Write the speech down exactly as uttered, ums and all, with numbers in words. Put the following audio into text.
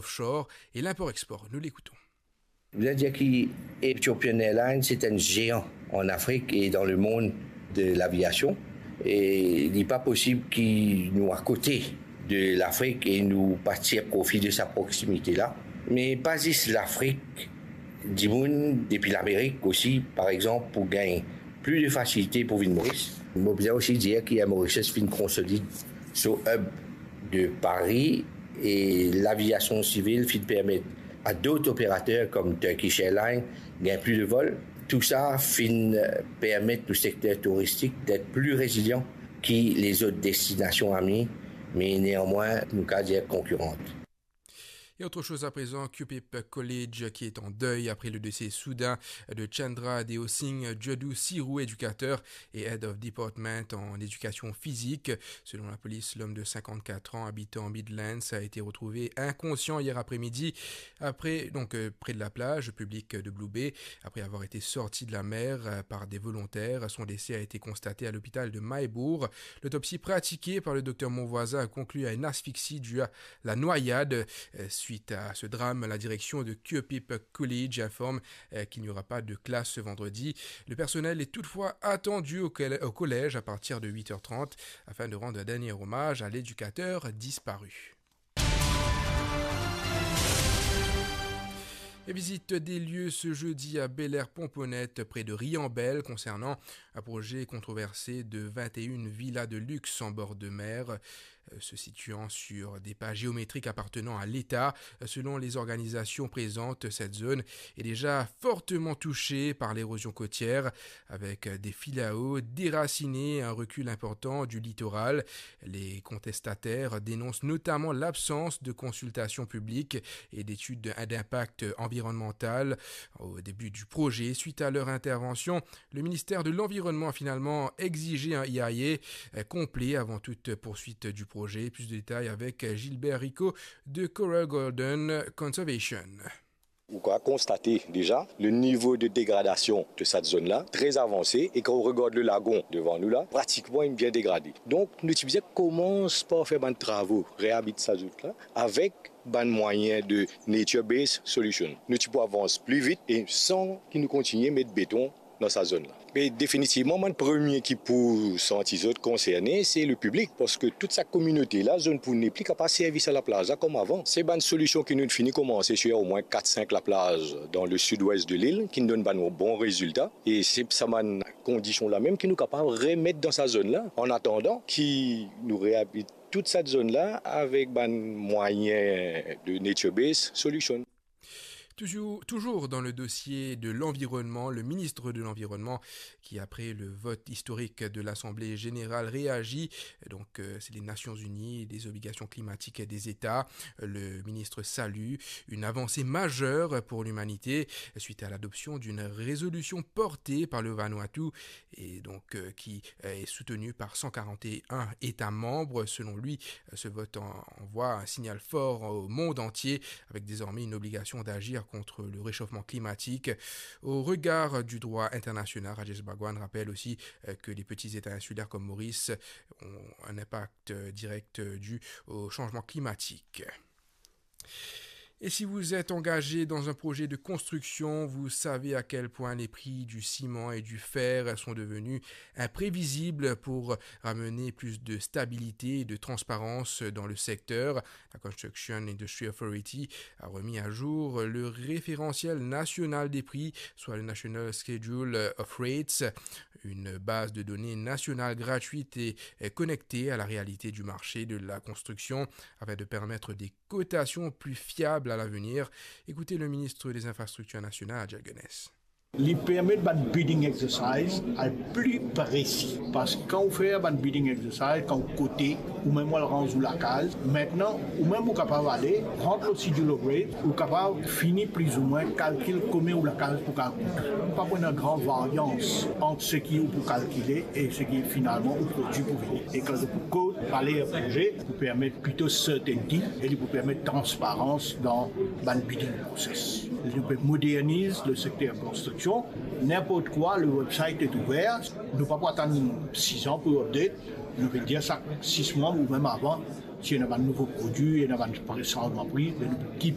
offshore et l'import-export. Nous l'écoutons. Je voudrais dire que Ethiopian Airlines, c'est un géant en Afrique et dans le monde de l'aviation. Et il n'est pas possible que nous, à côté de l'Afrique, et nous pas tirer profit de sa proximité-là. Mais pas juste l'Afrique, dimoun depi Lamerik osi, par exanp, pou gagn plis de fasilite pou vinn Moris. Mo bizin osi dir ki Air Mauritius finn konsolid so hub de Paris e laviasion sivil finn permet a dot operater kom Turkish Airlines gagn plis de vol. Tou sa finn permet nou sekter touristik det pli rezilian ki lezot destinasion ami, me neanmwin nou kapav dir konkiran. Et autre chose à présent, Cupip College qui est en deuil après le décès soudain de Chandra Deosing Jadu Siru, éducateur et Head of Department en éducation physique. Selon la police, l'homme de cinquante-quatre ans, habitant Midlands, a été retrouvé inconscient hier après-midi, après, donc, euh, près de la plage publique de Blue Bay, après avoir été sorti de la mer, euh, par des volontaires. Son décès a été constaté à l'hôpital de Mahébourg. L'autopsie pratiquée par le docteur Monvoisin a conclu à une asphyxie due à la noyade. Euh, suite à ce drame, la direction de Cupip College informe, euh, qu'il n'y aura pas de classe ce vendredi. Le personnel est toutefois attendu au coll-, au collège à partir de huit heures trente afin de rendre un dernier hommage à l'éducateur disparu. Et visite des lieux ce jeudi à Bel Air Pomponnet, près de Riambelle, concernant un projet controversé de vingt et une villas de luxe en bord de mer, euh, se situant sur des pas géométriques appartenant à l'État. Selon les organisations présentes, cette zone est déjà fortement touchée par l'érosion côtière, avec des filaos déracinés, un recul important du littoral. Les contestataires dénoncent notamment l'absence de consultation publique et d'études d'impact environnemental au début du projet. Suite à leur intervention, le ministère de l'Environnement a finalement exigé un E I A, euh, complet avant toute poursuite du projet. Plus de détails avec Gilbert Rico de Coral Garden Conservation. Ou kapav konstate deza le nivo de degradasion de sa zone la, tre avanse, e kan ou regard le lagon devan nou la, pratikman inn bien degrade. Donk, nou ti bizin komans par fer bann travo, reabilit sa zot la, avek bann mwayin de nature-based solution. Nou ti pou avans pli vit e san ki nou kontigne met beton dan sa zone la. Me definitivman, mwa, le premie ki pou santi zot konserne, se le piblik, parski tout sa kominote la, zot pou nepli kapav servi sa laplaz la kom avan. Se bann solision ki nou fini komanse sir omwin kat sink laplaz dan le sid-wes de lil, ki donn bann bon rezilta. E se sa bann kondision la mem ki nou kapav remet dan sa zone la, an atandan ki nou reabilit tout sa zone la avek bann mwayin de nature-based solution. Toujours, toujours dans le dossier de l'environnement, le ministre de l'Environnement qui, après le vote historique de l'Assemblée générale, réagit. Donc, euh, c'est les Nations Unies, les obligations climatiques des États. Le ministre salue une avancée majeure pour l'humanité suite à l'adoption d'une résolution portée par le Vanuatu et donc, euh, qui, euh, est soutenue par cent quarante et un États membres. Selon lui, euh, ce vote en-, envoie un signal fort au monde entier, avec désormais une obligation d'agir contre le réchauffement climatique. Au regard du droit international, Rajesh Bhagwan rappelle aussi, euh, que les petits États insulaires comme Maurice ont un impact, euh, direct, euh, dû au changement climatique. Et si vous êtes engagé dans un projet de construction, vous savez à quel point les prix du ciment et du fer sont devenus imprévisibles. Pour ramener plus de stabilité et de transparence dans le secteur, la Construction Industry Authority a remis à jour le référentiel national des prix, soit le National Schedule of Rates, une base de données nationale gratuite et, et connectée à la réalité du marché de la construction, afin de permettre des cotations plus fiables à l'avenir. Écoutez le ministre des Infrastructures nationales, Jack Gunnes. Li permet bann bidding exercise al pli presi. Parski kan ou fer bann bidding exercise, kan ou kote, ou mem ou al ranz ou lakaz, aster ou mem ou kapav ale, rant lor schedule of rate, ou kapav fini plizoumwin kalkil komie ou lakaz pou kapav kout. Pa pou ena gran varians ant seki ou pou kalkile e seki finalman ou prodwi pou vini. E kan ou pou kot, pale proze, pou permet plito certainty e li pou permet transparans dan bann bidding process. Nou pe moderniz le sekter konstriksion. Ninport kwa, le website est ouvert. Nou pa pou atann sizan pou update. Nou pe dir sak sis mwa ou mem avan, si ena bann nouvo prodwi, ena bann sanzman pri, nou pou keep